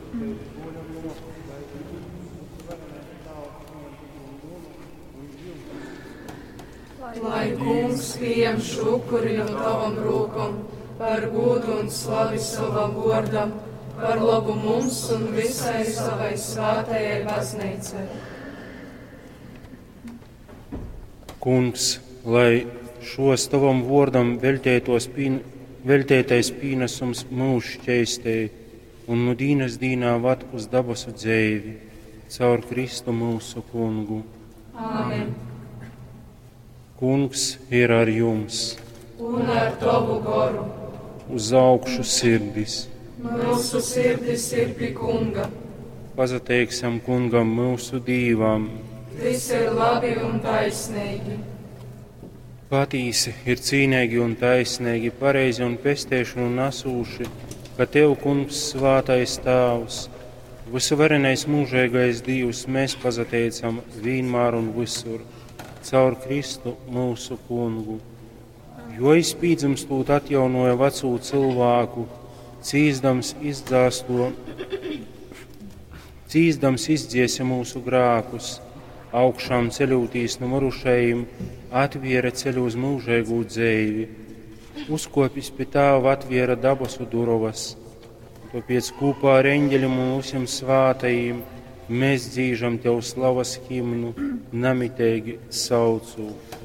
Tevis bruoļam muosu, lai Dīvs, vysuvarenais Tāvs, pījam un munu un jyusu. Lai Kungs pījem šo upuri no tavam rūkom par gūdu un slavi savam vōrdam, par lobu mums un visai savai svātajai baznīcai. Kungs, lai šos tavam vōrdam veļtētos pīn, veļtētais pīnesums mūs šķeistej un nu dīnas dīnā vad uz dabasu dzeivi, caur Kristu mūsu kungu. Āmen. Kungs ir ar jums, Un ar tavu goru. uz augšu sirdis. Mūsu sirdis ir pie Kunga. Pazateiksim kungam mūsu Dīvam. Viss ir labi un taisnīgi. Patīsi ir cīnīgi un taisnīgi, pareizi un pestēšanu nesūši, ka Tev, Kungs, svātais Tāvs, visuvarenais mūžīgais Dievs, mēs pazateicam vienmēr un visur, caur Kristu mūsu kungu. Jo izpīdzimstot atjaunoja veco cilvēku, cīzdams izdzāsto, cīzdams izdziesa mūsu grākus, augšām ceļotīs no mirušajiem, atviera ceļu uz mūžīgu dzeivi, uzkopis pie tāva atviera dabasu durovas. Tāpēc kopā ar eņģeļiem un visiem svātajiem mēs dzīžam Tev slavas himnu, namitīgi saucot.